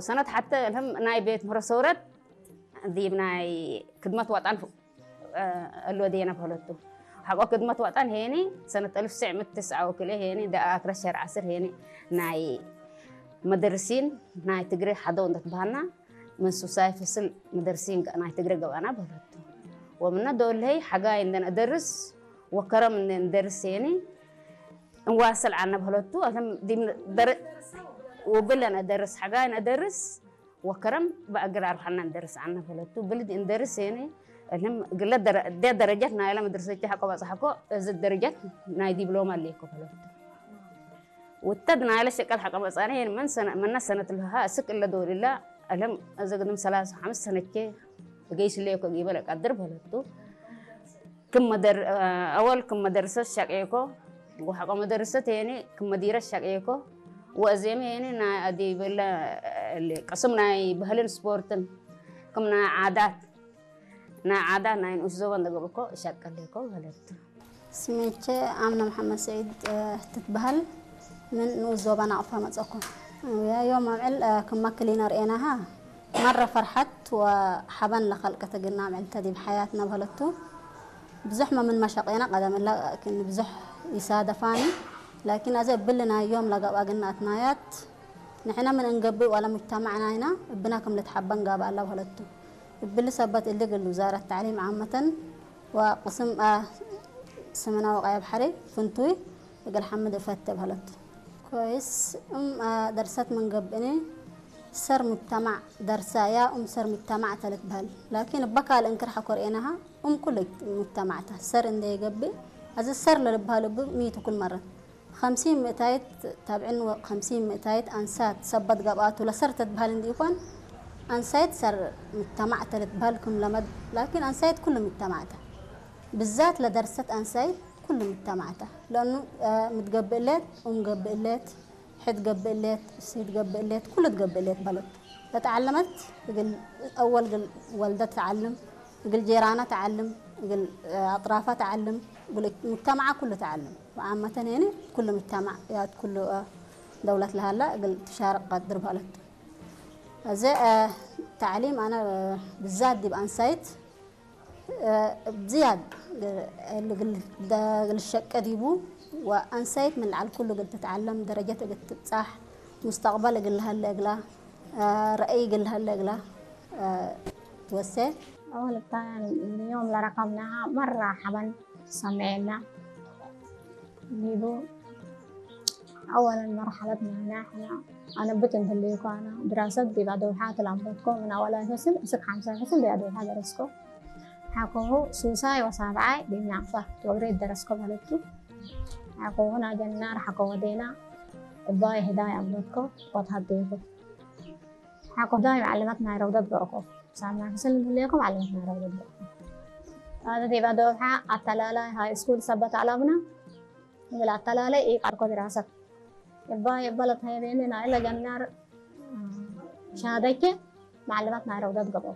ሰነት ሓተ እልህም ናይ ቤት ምህሮ ሰውረት ዲብ ናይ ክድመት ዋጣን እ፣ እሎ ዴና በለቱ። ሓቆ ክድመት ዋጣን ሄኒ ሰነት እልፍ ስዕ ምት ትስዓ ወክልኤ ሄኒ ደኣ ክረሸር ዓስር ሄኒ ናይ መደርሲን ናይ ትግሬ ሓደው እንደትበሃልና መንሱሳይ ፍስል መደርሲን ገ-፣ ናይ ትግሬ ገባና በለቱ። ወምነ ዶልሄይ ሓጋይ እንደን እደርስ ወከረም እንደን እደርስ ሄኒ እንዋስል ዓነ በለቱ። እልም ዲም ደረ-፣ ውብለን እደርስ ሓጋይን እደርስ ወከረም በእግር ኣርሓና እንደርስ ዓና ፈለቱ ብልድ እንደርስ ሄነ እልም ግለ ደረ-፣ እደ ደረጃት ናይላ መድረሰች ሓቆ ባጽሓኮ እዚ ደረጃት ናይ ዲፕሎማ ኣለኮ ፈለቱ ውተድ ናይላ ሸቀል ሓቀ መጻነ ሄን መን ሰነ-፣ መና ሰነት ለሃ እስክ እለ ዶልላ እልም እዚ ግድም ሰላሳ ሓምስ ሰነቼ ገይስ ለኮ ጊበለ ቀድር ፈለቱ ክም መደር-፣ ኣወል ክም መደርሰት ሸቄኮ፣ ወሓቆ መደርሰት ሄኒ ክም መዲረት ሸቄኮ፣ ወእዜም ሄኒ ናይ ኣዲ በለ ቅስም ናይ ባህልን ስፖርትን ክም ናይ ዓዳት፣ ናይ ዓዳት ናይ ንኡስ ዞባ እንደገብኮ ሸቀሌኮ በለቱ። ስሜቼ ኣምና መሓመድ ስዒድ፣ እ፣ ትትበሃል። ምን ንኡስ ዞባ ናቕፋ መጸኩም። ያ ዮም ኣምዕል፣ እ፣ ክማ ክሊነር ኤናሃ መረ ፈርሐት ወሓበን ለኸልቀተ ግና ምዕልተ ዲብ ሓያትና በለቱ። ብዙሕ መምን መሸቄና ቀደም እላ ላኪን ብዙሕ ይሳደፋኒ። ላኪን ኣዘ እብል ናይ ዮም ለገብኣ ግና ኣትናያት ንሕና ምን እንገብእ ዋላ ሙጅተማዕና ኢና እብና ከም ልትሓበን ጋባ ኣላ በለቱ። እብል ሰበት እሊ ግል ውዛረት ተዕሊም ዓመተን ወቅስም፣ አ፣ ስምናዊ ቀያ ባሕሪ ፍንቱይ እግል ሓምድ እፈተ በለቱ። ኮይስ እም፣ አ፣ ደርሰት ምን ገብእኒ ሰር ሙጅተማዕ ደርሳ ያ እም ሰር ሙጅተማዕ ተልትበህል። ላኪን እበካል እንክር ሓኮር ኤናሃ እም ኩል ሙጅተማዕታ ሰር እንደ ይገብእ ኣዚ ሰር ለልበሃል እብ ሚቱ ኩል መረን ኸምሲን ምእታይት ታብዕን ወኸምሲን ምእታይት ኣንሳት ሰበት ገብኣቱ ለሰር ተትበሃል እንዲ ይኾን ኣንሳይት ሰር ሙጅተማዕ ተልትበሃል ክም ለመድ ላኪን ኣንሳይት ኩሉ ሙጅተማዕታ ብዛት ለደርሰት ኣንሳይት ኩሉ ሙጅተማዕታ ለኑ፣ አ፣ ምትገብእለት እም ገብእለት ሕድ ገብእለት፣ ሲድ ገብእለት፣ ኩሉ ትገብእለት በለት። ለተዓለመት እግል አወል እግል ወልደ ትዓልም፣ እግል ጄራና ትዓልም፣ እግል፣ እ፣ አጥራፋ ትዓልም፣ እግል ሙጅተማዓ ኩሉ ትዓልም። ወዓመተን የኒ ኩሉ ሙጅተማዕ ያት ኩሉ፣ እ፣ ደውለት ለሃላ እግል ትሻርቅ ቀድር በለት። እዚ፣ እ፣ ተዕሊም አነ፣ እ፣ ብዛት ዲብ አንሳይት እ፣ ብዝያድ ግ-፣ ልግል-፣ ደ-፣ ግልሸቀ ዲቡ ወአንሳይት ምን ለዓል ኩሉ እግል ትትዓለም ደረጀት እግል ትብጻሕ ሙስተቅበል እግል ለሀለ እግላ፣ እ፣ ረአይ እግል ለሀለ እግላ፣ እ፣ ትወሴ። أول اليوم لرقمناها مرة حبا سمعنا ዲቡ أولا مرحلتنا نحن أنا بت እንተልዩኳ أنا ድራሰት ዲብ ኣደውሓ ተላምበትኮ ምን ኣወላይ ፈስል እስክ ሓምሳይ ፈስል ዲብ ኣደውሓ ደረስኮ ሓኮሁ ሱሳይ ወሳብዓይ ዲብ ናቅፋ ወግሬት ደረስኮ ማለት እዩ። ሓኮሁ ናጀናር ሓኮ ወዴና እባይ ህዳይ ኣምበትኮ ቆት ሃደይኮ ሓኮ ህዳይ መዓለማት ናይ ረውደት ገርኮ ሳምና ክስል ዝብለኩም ዓለማት ናይ ረውደት ገርኮ ኣነ ዲብ ኣደውሓ ኣተላላይ ሃይ ስኩል ሰበት ኣላብና እብል ኣተላላይ ኢቃርኮ ድራሰት እባ የበለት ሀይቤኒ ናይለ ጀናር ሻደኬ መዓለማት ናይ ረውደት ገቦ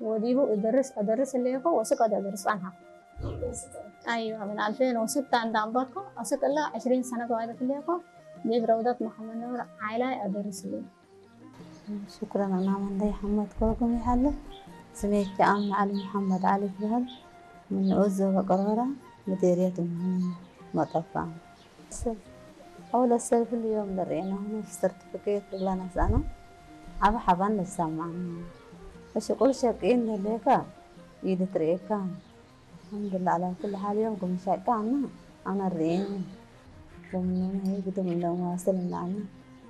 ወዲቡ እድርስ እድርስ እሌኮ ወስቅ ወደ እድርስ ጻንሃ أيوة من ألفين وستة عند أنبطكو أسك إلا عشرين سنة وايدة ليكو ዲብ ረውደት መሓመድ ኑር ዓይላይ ኣደርስ እሌ። ሽኩረን ኣና መንደይ ሓመድ ኮኩም ይሓለ ስሜት ጃኣም ዓሊ መሓመድ ዓሊ ይበሃል። ምን ንኡስ ዞባ ቀርቀራ ምዴርየት መጠፋ። أول السلف اليوم لرينا هنا في السيرتيفيكيت ولا نسأنا عبا حبان لسامعنا. እሺ ቁል ሸቂን ለሌካ ኢድ ትርኤካ። الحمد لله على كل حال يوم كم ሸቃ أنا أنا الرئين ومن هي قدم إنه واصل إن أنا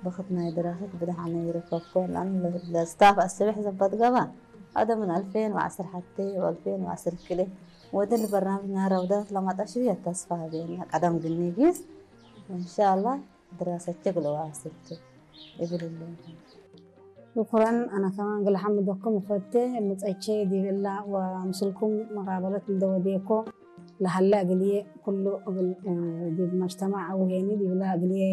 بختنا دراسة بدحنا يركبكو لأن الستاف السبح زبط قبا هذا من ألفين وعشرة حتى وألفين وعشرة كله ودل برنامج نهار وده لما تشوي التصفى بينا قدم قلني جيس وإن شاء الله دراسة تقلوا واصلت إبل الله. شكرا. أنا كمان قل حمدكم وفتي متأتشي دي بالله ومسلكم مقابلة مدوديكو لهلا قلي كله قل، آه، دي مجتمع أو هيني دي بالله قلي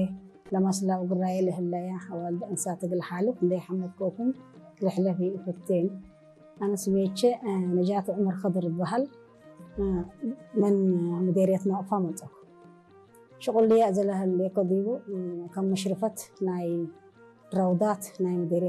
لمسلا وقراي لهلا يا حوال أنسات قل حالك دي حمد كوكم رحلة في فتين. أنا سميتش، آه، نجاة عمر خضر البهل، آه، من، آه، مديرية نوقفة منطقة. شغل لي أزلها اللي كديبو، آه، كم مشرفة ناي روضات ናይ መደርያ